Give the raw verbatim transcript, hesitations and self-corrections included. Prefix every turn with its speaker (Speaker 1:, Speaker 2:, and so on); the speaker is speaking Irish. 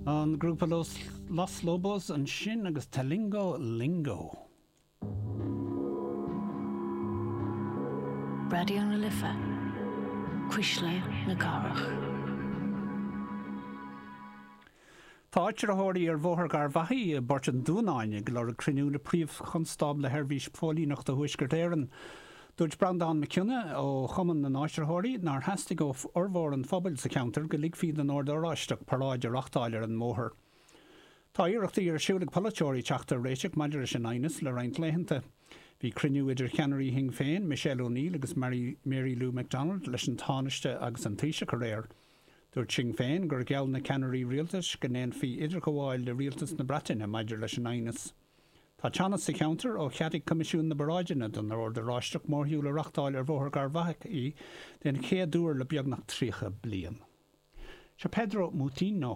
Speaker 1: An grúpa Los, Los Lobos ansin agus Talingo Lingo.
Speaker 2: Raidió na Life, Cuisle na Cathrach.
Speaker 1: Tá áitritheoirí ar Bhóthar Gharbhachaidh i bPort an Dúnáin ag lorg cruinniú le príomhchonstábla Sheirbhís Póilíneachta Thuaisceart Éireann. Dúirt Breandán Mac Cionnaith ó Chumann na nÁitritheoirí nár theastaigh ó fhormhór an phobail sa cheantar go ligfí don Ord Oráisteach paráid a reáchtáil ar an mbóthar. Tá iarrachtaí ar siúl ag polaiteoirí teacht ar réiteach maidir leis an aighneas le roinnt laethanta. Bhí cruinniú idir cheannairí Shinn Féin, Michelle O'Neill agus Mary, Mary Lou McDonald leis an Tánaiste agus an Taoiseach aréir. Dúirt Sinn Féin gur gheall na ceannairí rialtais go ndéanfaí idirghabháil le rialtas na Breataine maidir leis an aighneas. Tá teannas sa cheantar ó cheadaigh Coimisiún na bParáideanna don Ord Oráisteach mórshiúl a reáchtáil ar Bhóthar Gharbhachaidh den chéad uair le beagnach tríocha bliain. Seo Pedro Moutinho.